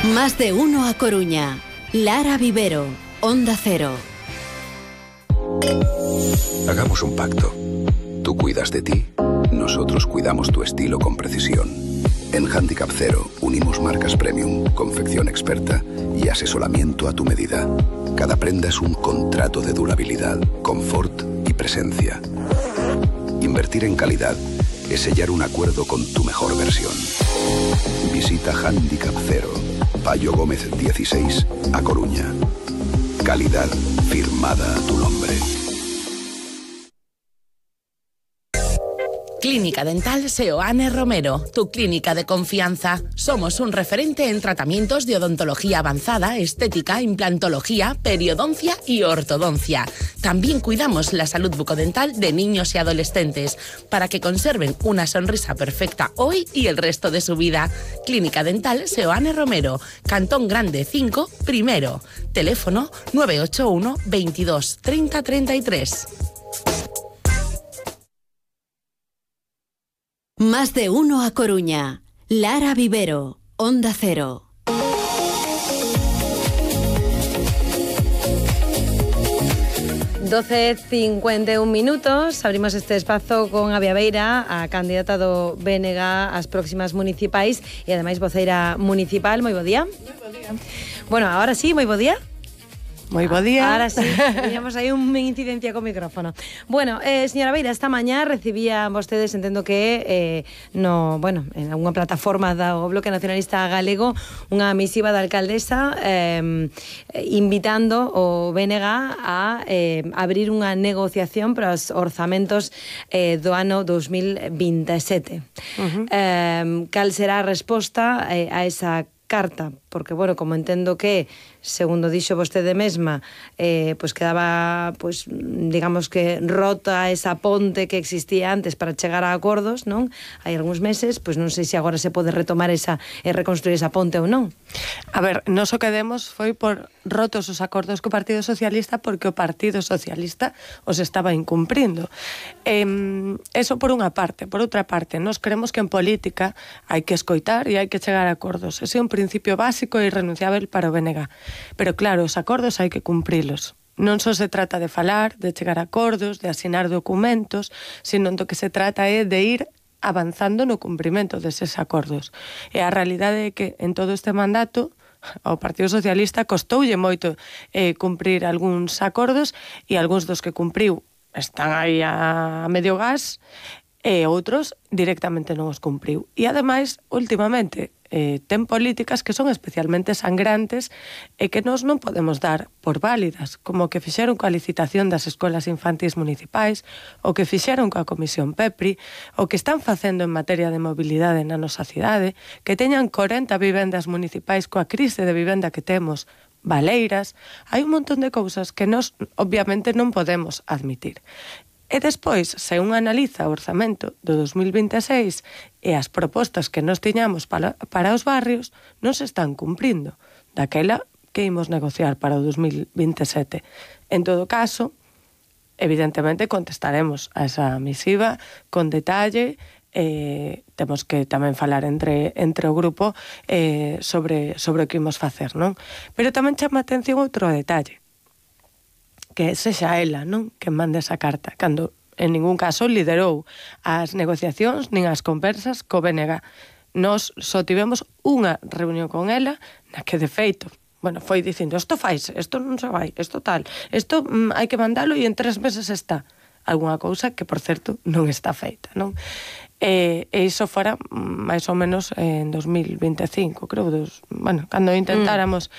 Más de uno a Coruña. Lara Vivero, Onda Cero. Hagamos un pacto. Tú cuidas de ti, nosotros cuidamos tu estilo con precisión. En Handicap Cero unimos marcas premium, confección experta y asesoramiento a tu medida. Cada prenda es un contrato de durabilidad, confort y presencia. Invertir en calidad es sellar un acuerdo con tu mejor versión. Visita Handicap Cero, Payo Gómez 16, A Coruña. Calidad firmada a tu nombre. Clínica Dental Seoane Romero, tu clínica de confianza. Somos un referente en tratamientos de odontología avanzada, estética, implantología, periodoncia y ortodoncia. También cuidamos la salud bucodental de niños y adolescentes para que conserven una sonrisa perfecta hoy y el resto de su vida. Clínica Dental Seoane Romero, Cantón Grande 5, primero. Teléfono 981 22 30 33. Más de uno a Coruña. Lara Vivero, Onda Cero. (12:51). Abrimos este espazo con Avia Beira, a candidata do BNG ás próximas municipais e ademais voceira municipal. Moi bo día. Moi bo día. Bueno, ahora sí, moi bo día. Moi bo día. Ahora sí, teníamos aí unha incidencia co micrófono. Bueno, señora Beira, esta mañá recibían vostedes, entendo que en unha plataforma do Bloque Nacionalista Galego, unha misiva da alcaldesa invitando o BNG a abrir unha negociación para os orzamentos do ano 2027. Cal será a resposta a esa carta? Porque, bueno, como entendo que, segundo dixo vostede mesma, pois quedaba, pois, digamos que rota esa ponte que existía antes para chegar a acordos, non? Hai algúns meses, pois non sei se agora se pode retomar esa e reconstruir esa ponte ou non. A ver, nos o que demos foi por rotos os acordos co Partido Socialista porque o Partido Socialista os estaba incumprindo. Eso por unha parte. Por outra parte, nos creemos que en política hai que escoitar e hai que chegar a acordos. Ese é un principio básico e irrenunciável para o BNG. Pero claro, os acordos hai que cumprilos. Non só se trata de falar, de chegar a acordos, de asinar documentos, sino do que se trata é de ir avanzando no cumprimento deses acordos. E a realidade é que en todo este mandato ao Partido Socialista costoulle moito cumprir algúns acordos e algúns dos que cumpriu están aí a medio gas e outros directamente non os cumpriu. E ademais, últimamente, ten políticas que son especialmente sangrantes e que nós non podemos dar por válidas, como que fixeron coa licitación das escolas infantís municipais, o que fixeron coa Comisión PEPRI, o que están facendo en materia de mobilidade na nosa cidade, que teñan 40 vivendas municipais coa crise de vivenda que temos, baleiras. Hai un montón de cousas que nós obviamente non podemos admitir. E despois, se un analiza o orzamento do 2026 e as propostas que nos tiñamos para os barrios, non se están cumprindo. Daquela que imos negociar para o 2027. En todo caso, evidentemente contestaremos a esa misiva con detalle. Temos que tamén falar entre o grupo sobre o que imos facer, non? Pero tamén chama a atención outro detalle, que sexa ela, non, que mande esa carta, cando en ningún caso liderou as negociacións nin as conversas co BNG. Nos só tivemos unha reunión con ela, na que de feito, bueno, foi dicindo, isto faise, isto non se vai, isto tal, isto hai que mandalo e en 3 meses está. Alguna cousa que, por certo, non está feita, non? E iso fora máis ou menos en 2025, creo, cando intentáramos